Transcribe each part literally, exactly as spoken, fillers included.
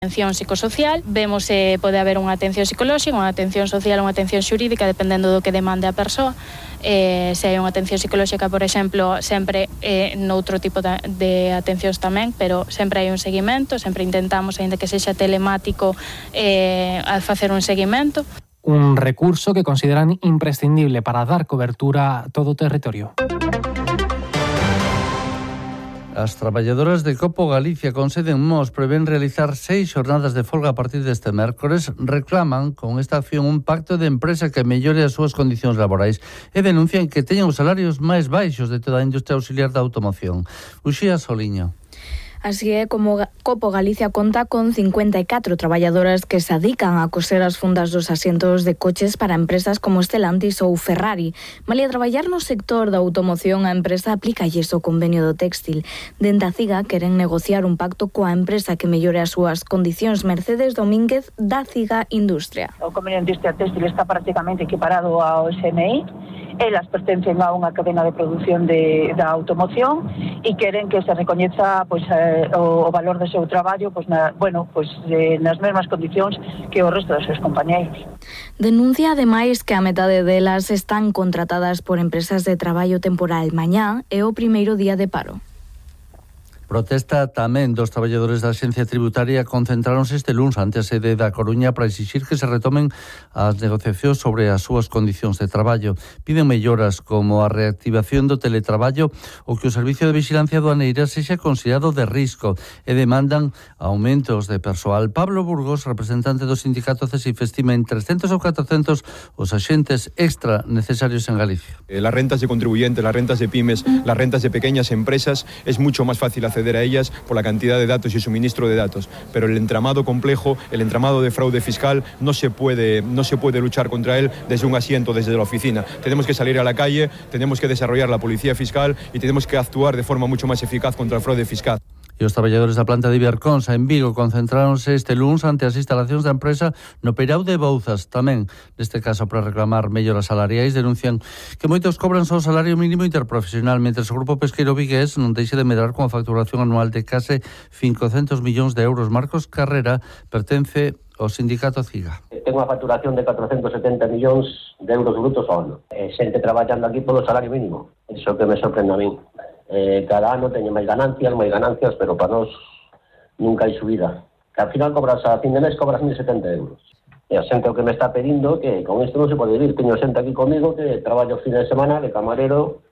Atención psicosocial, vemos se pode haber unha atención psicolóxica, unha atención social, unha atención xurídica, dependendo do que demande a persoa. Eh, se hai unha atención psicolóxica, por exemplo, sempre eh, noutro tipo de, de atencións tamén, pero sempre hai un seguimento, sempre intentamos, aínda que sexa telemático, eh, a facer un seguimento. Un recurso que consideran imprescindible para dar cobertura a todo o territorio. As traballadoras de Copo Galicia con sede en Mos prevén realizar seis xornadas de folga a partir deste mércores. Reclaman con esta acción un pacto de empresa que mellore as súas condicións laborais e denuncian que teñen os salarios máis baixos de toda a industria auxiliar da automoción. Uxía Soliño. Así é como Copo Galicia conta con cincuenta e catro traballadoras que se dedican a coser as fundas dos asientos de coches para empresas como Stellantis ou Ferrari. Malia traballar no sector da automoción, a empresa aplícalles o convenio do téxtil. Dende a CIGA queren negociar un pacto coa empresa que mellore as súas condicións. Mercedes Domínguez, da CIGA Industria. O convenio de industria téxtil está prácticamente equiparado ao S M I. Elas pertencen a unha cadena de produción de, da automoción e queren que se recoñeza pois, eh, o, o valor do seu traballo pois, na, bueno, pois, eh, nas mesmas condicións que o resto dos seus compañeiros. Denuncia ademais que a metade delas están contratadas por empresas de traballo temporal. Mañá é o primeiro día de paro. Protesta tamén dos traballadores da Axencia Tributaria concentráronse este luns ante a sede da Coruña para exixir que se retomen as negociacións sobre as súas condicións de traballo. Piden melloras como a reactivación do teletraballo ou que o servicio de vigilancia aduaneira sexa considerado de risco e demandan aumentos de persoal. Pablo Burgos, representante do sindicato CESIF, estima en trescentos ou catrocentos os axentes extra necesarios en Galicia. Las rentas de contribuyentes, las rentas de pymes, las rentas de pequeñas empresas, es mucho más fácil hacer a ellas por la cantidad de datos y suministro de datos, pero el entramado complejo, el entramado de fraude fiscal no se puede no se puede luchar contra él desde un asiento, desde la oficina. Tenemos que salir a la calle, tenemos que desarrollar la policía fiscal y tenemos que actuar de forma mucho más eficaz contra el fraude fiscal. E os traballadores da planta de Iberconsa en Vigo concentráronse este luns ante as instalacións da empresa no Peirao de Bouzas, tamén neste caso para reclamar melloras salariais. Denuncian que moitos cobran só o salario mínimo interprofesional, mentre o grupo pesqueiro vigués non deixa de medrar con a facturación anual de case cincocentos millóns de euros. Marcos Carrera pertence ao sindicato CIGA. Ten unha facturación de catrocentos setenta millóns de euros brutos ao ano. E xente traballando aquí polo salario mínimo. Iso que me sorprende a mí. Eh, cada ano teñen máis ganancias, máis ganancias, pero para nós nunca hai subida. Que al final cobras a fin de mes, cobras mil setenta euros. E a xente o que me está pedindo que con isto non se pode vivir. Teño xente aquí comigo que traballo os fines de semana de camarero,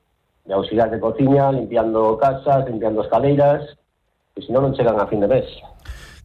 de auxiliar de cociña, limpiando casas, limpiando escaleiras, e senón non chegan a fin de mes.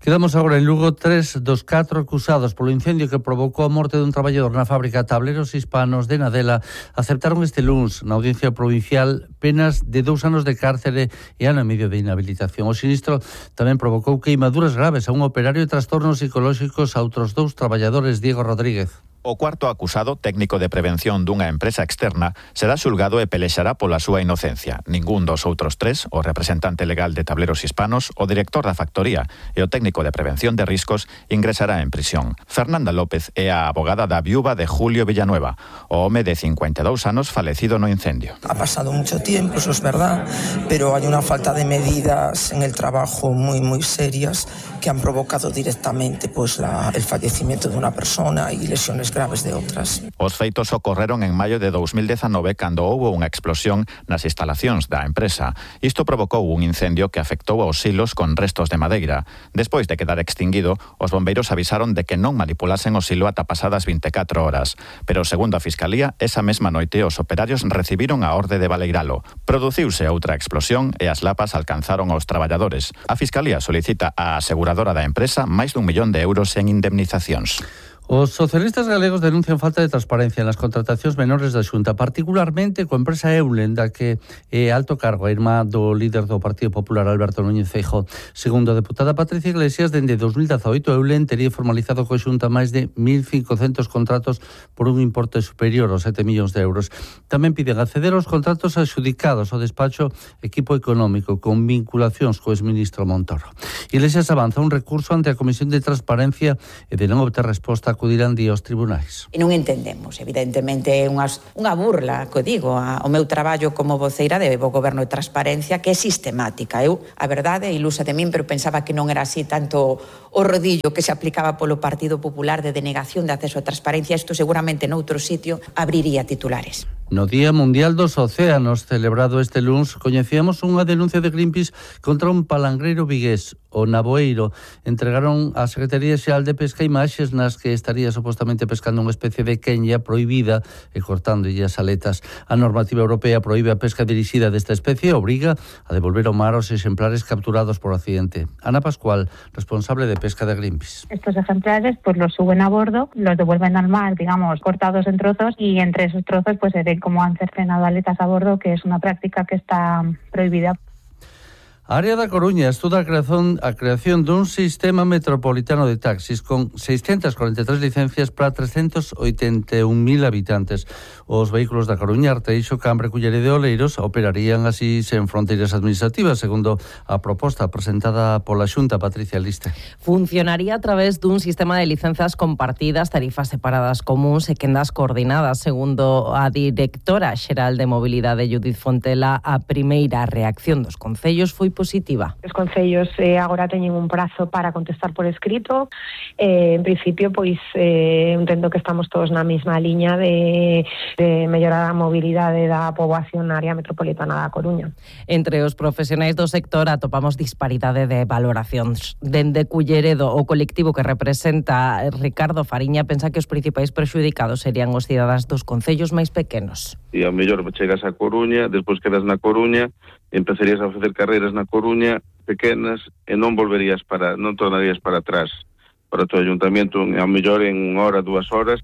Quedamos agora en Lugo. Tres dos catro acusados polo incendio que provocou a morte dun traballador na fábrica Tableros Hispanos de Nadela aceptaron este luns na audiencia provincial penas de dous anos de cárcere e ano e medio de inhabilitación. O sinistro tamén provocou queimaduras graves a un operario e trastornos psicolóxicos a outros dous traballadores. Diego Rodríguez. O cuarto acusado, técnico de prevención dunha empresa externa, será xulgado e pelexará pola súa inocencia. Ningún dos outros tres, o representante legal de Tableros Hispanos, o director da factoría e o técnico de prevención de riscos, ingresará en prisión. Fernanda López é a abogada da viúva de Julio Villanueva, o home de cincuenta e dous anos falecido no incendio. Ha pasado mucho tiempo, eso es verdad, pero hay una falta de medidas en el trabajo muy, muy serias que han provocado directamente pues, la, el fallecimiento de una persona y lesiones graves de outras. Os feitos ocorreron en maio de dous mil dezanove cando houbo unha explosión nas instalacións da empresa. Isto provocou un incendio que afectou aos silos con restos de madeira. Despois de quedar extinguido, os bombeiros avisaron de que non manipulasen o silo ata pasadas vinte e catro horas. Pero, segundo a Fiscalía, esa mesma noite os operarios recibiron a orde de baleiralo. Produciuse outra explosión e as lapas alcanzaron aos traballadores. A Fiscalía solicita á aseguradora da empresa máis dun millón de euros en indemnizacións. Os socialistas galegos denuncian falta de transparencia nas contratacións menores da Xunta, particularmente coa empresa Eulen, da que é alto cargo a irmá do líder do Partido Popular, Alberto Núñez Feijóo. Segundo a deputada Patricia Iglesias, dende dous mil dezaoito Eulen tería formalizado coa Xunta máis de mil cincocentos contratos por un importe superior aos sete millóns de euros. Tamén piden acceder aos contratos adxudicados ao despacho Equipo Económico con vinculacións co exministro Montoro. Iglesias avanza un recurso ante a Comisión de Transparencia e de non obter resposta acudirán dí aos tribunais. E non entendemos, evidentemente, é unha, unha burla, que digo, a, o meu traballo como voceira de Bo Goberno e Transparencia, que é sistemática. Eu, a verdade, é ilusa de min, pero pensaba que non era así tanto o rodillo que se aplicaba polo Partido Popular de denegación de acceso a transparencia. Isto seguramente noutro sitio abriría titulares. No Día Mundial dos Océanos, celebrado este luns, coñecíamos unha denuncia de Greenpeace contra un palangreiro vigués, o Navoeiro. Entregaron á Secretaría Xeral de Pesca imaxes nas que estaría supostamente pescando unha especie de quenya prohibida e cortando as aletas. A normativa europea prohíbe a pesca dirixida desta especie e obriga a devolver ao mar os exemplares capturados por accidente. Ana Pascual, responsable de pesca de Greenpeace. Estos ejemplares pues los suben a bordo, los devuelven al mar, digamos, cortados en trozos, y entre esos trozos pues se ve cómo han cercenado aletas a bordo, que es una práctica que está prohibida. A área da Coruña estuda a creación, a creación dun sistema metropolitano de taxis con seiscentas cuarenta e tres licencias para trescentos oitenta e un mil habitantes. Os vehículos da Coruña, Arteixo, Cambre, Culleredo e Oleiros operarían así sen fronteiras administrativas, segundo a proposta presentada pola Xunta. Patricia Liste. Funcionaría a través dun sistema de licencias compartidas, tarifas separadas comuns e quendas coordinadas, segundo a directora xeral de Mobilidade, Judith Fontela. A primeira reacción dos concellos foi positiva. Os concellos eh, agora teñen un prazo para contestar por escrito. Eh, en principio, pois, eh, entendo que estamos todos na mesma liña de, de mellorar a mobilidade da poboación na área metropolitana da Coruña. Entre os profesionais do sector atopamos disparidade de valoracións. Dende Culleredo, o colectivo que representa Ricardo Fariña pensa que os principais prexudicados serían os cidadáns dos concellos máis pequenos. E ao mellor chegas a Coruña, despois quedas na Coruña, empezarías a facer carreiras na Coruña pequenas e non volverías para, non tornarías para atrás para o teu ayuntamento, ao mellor en unha hora, dúas horas.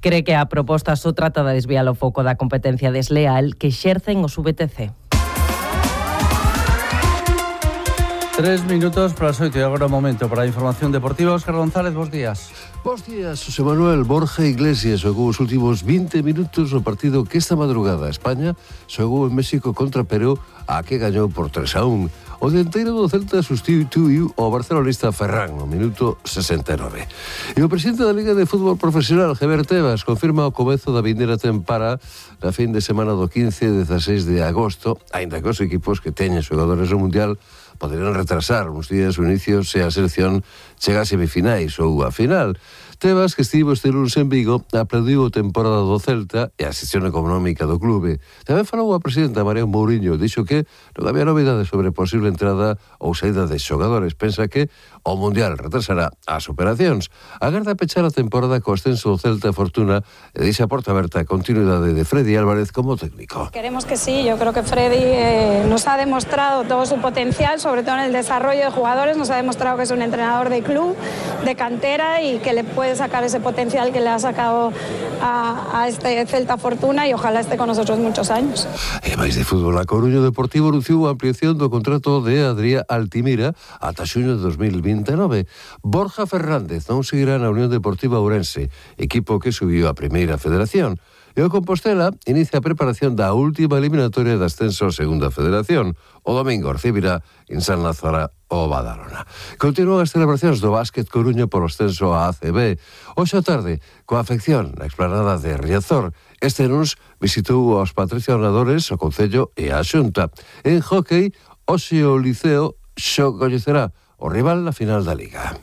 Cree que a proposta só trata de desviar o foco da competencia desleal que exercen os V T C. Tres minutos para as oito e agora o momento para a información deportiva. Óscar González, bons días. Bos días, José Manuel. Borja Iglesias xogou os últimos vinte minutos no partido que esta madrugada España xogou en México contra Perú, a que gañou por tres a un. O dianteiro do Celta sustituiu ao barcelonista Ferran no minuto sesenta e nove. E o presidente da Liga de Fútbol Profesional, Javier Tebas, confirma o comezo da vindeira tempada na fin de semana do quince e dezasseis de agosto, aínda que os equipos que teñen xogadores no Mundial poderían retrasar uns días o inicio se a selección chega a semifinais ou a final. Tebas, que estivo este lunes en Vigo, aplaudiu a temporada do Celta e a xestión económica do clube. Tamén falou a presidenta María Mourinho, dixo que non había novidades sobre posible entrada ou saída de xogadores. Pensa que o Mundial retrasará as operacións. Agarda pechar a temporada co ascenso do Celta Fortuna e dixe a porta aberta a continuidade de Freddy Álvarez como técnico. Queremos que sí, yo creo que Freddy eh, nos ha demostrado todo su potencial, sobre todo en el desarrollo de jugadores, nos ha demostrado que es un entrenador de club, de cantera y que le puede sacar ese potencial que le ha sacado a, a este Celta Fortuna y ojalá esté con nosotros muchos años. E máis de fútbol, a Coruña Deportivo anunciou a ampliación do contrato de Adrià Altimira ata xuño de dos mil vinte e nove. Borja Fernández non seguirá na Unión Deportiva Ourense, equipo que subiu a Primeira Federación. E o Compostela inicia a preparación da última eliminatoria de ascenso a Segunda Federación. O domingo recibirá en San Lázaro o Badalona. Continúan as celebracións do básquet Coruña por o ascenso a A C B. Hoxe a tarde, coa afección na explanada de Riazor, este luns visitou aos patrocinadores, o Concello e a Xunta. En hóquei, hoxe o Liceo xo coñecerá o rival na final da Liga.